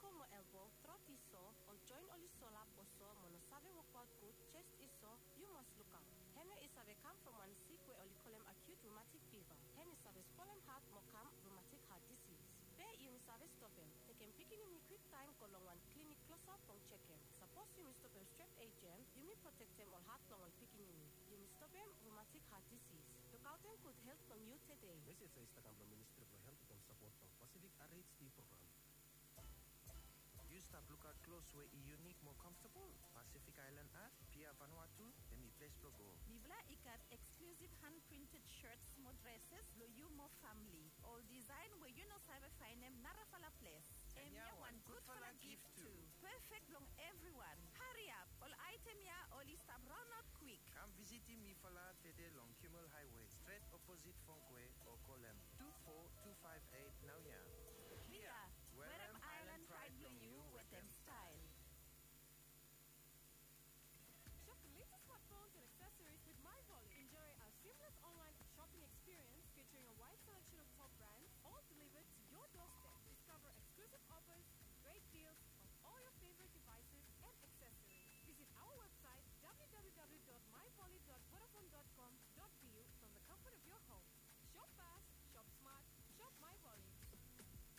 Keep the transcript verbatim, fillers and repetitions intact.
Mo elbo, trot i so, ol joen oli solap o so mo no save wokbaot gud, jes i so, yu mas lukaot. Hemia i save kam from wan sik we oli kolem acute rheumatic fever. Hem i save spolem hat mo kam rheumatic heart disease. Be yumi save stopem. Tekem pikinini kwiktaem go long wan klinik klosap blong jekem. Sapos yumi stopem strep A J M, yumi protektem ol hat blong ol pikinini. Yumi stopem rheumatic heart disease. Lukaotem gud helt blong yu tede. Mesej ya i stap kam blong Ministri blong Helt wetem sapot blong Pacific R H D program. Yu stap lukaot klos we i yunik mo comfortable? Pacific Island Art, Pia Vanuatu, hemi ples blong go. Mifala i gat exclusive hand printed shirts mo dresses blong yu mo famili. Ol design we yu no save faenem narafala ples. Hemia wan gudfala gif tu. Perfect blong evriwan. Hariap! Ol aetem ya oli stap raonaot kwik. Kam visitim mifala tede long Kimmel Highway, stret oposit Fongkwe, o kolem tu fo tu faef eit naoia.